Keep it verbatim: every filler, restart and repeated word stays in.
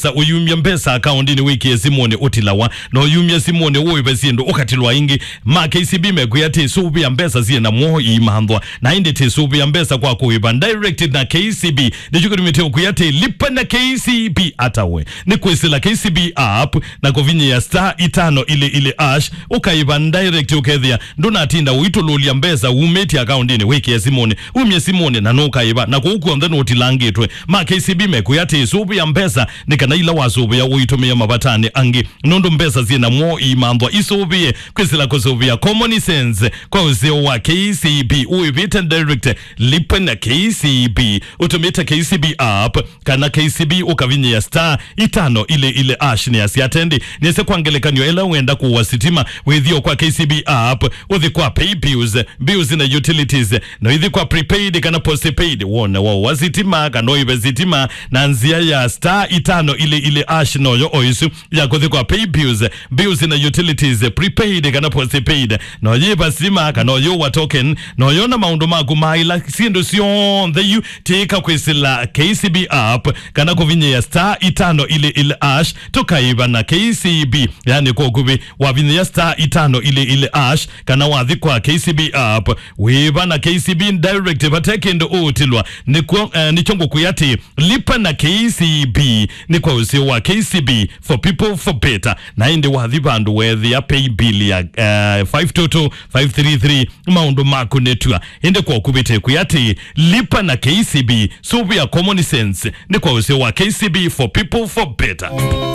Sa ũyumya mbesa akaũndinĩ wĩkĩe simũnĩ ũtilawa, na ũyumya simũnĩ ũĩve syĩndũ ũkatilwa ingĩ. Ma K C B mekwĩa tĩsũvĩa mbesa syĩ na mwoo iimanthwa, na ĩndĩ tĩsũvĩa mbesa kwa kũĩva direct na K C B. Nĩkyo kĩtumĩte ũkwĩa tĩ lipa na K C B. Atawe nĩ kwĩsĩla K C B app na kũvinyĩa star itano ili ili ash, ũkaĩva direct, ũkethĩa ndũnatinda ũitũlũlya mbesa umĩtye akaũndinĩ wĩkĩe simũnĩ, umye simũnĩ na nũkaĩva, na kũu kw'onthe nũtilangĩtwe. Ma K C B mekwĩa tĩsũvĩa mbesa nĩ kana ila wasũvĩa ũitũmĩe mavatanĩ angĩ, nũndũ mbesa syĩ na mwoo iimanthwa isũvĩe. Kwĩsĩla kũsũvĩa common sense kwa ũseo wa K C B ũĩvĩte direct, lipa na K C B ũtũmĩte K C B app kana K C B ũkavinyĩa star itano ili ili ash. Nĩ asya atendi nĩse kwa ngelekany'o ĩla wenda kũwa sitima, wĩthio kwa K C B app, ũthi kwa pay bills, bills na utilities, na ithi kwa prepaid kana postpaid, wone wa wa sitima kana ũive sitima na nzĩa ya star itano ili ili ash. Noyo o isu ya kũthi kwa pay bills, bills na utilities, prepaid kana postpaid, noyo iva sitima kana ũyũwa token, noyo na maũndũ maku ma ila syĩndũ syonthe yu. Tĩka kwĩsĩla K C B app kana kũvinyĩa star itano ili ili ash, tũkaiva na K C B, yani kwa ũkuvĩ wavinyĩa star itano ili ili ash, kana wathi kwa K C B app, wĩva na K C B direct, vate kĩndũ ũũtilwa. Nĩkw'o, eh, nĩkyo ngũkwĩa atĩ lipa na K C B nĩ kwa ũseo wa K C B, for people, for better. Na ĩndĩ wathi vandũ weethĩa pay bill ya, eh, five two two five three three, maũndũ maku nĩtw'a. Ĩndĩ kwa ũkuvĩte kwĩ atĩ lipa na K C B, sũvĩa common sense, nĩ kwa ũseo wa K C B, for people, for better.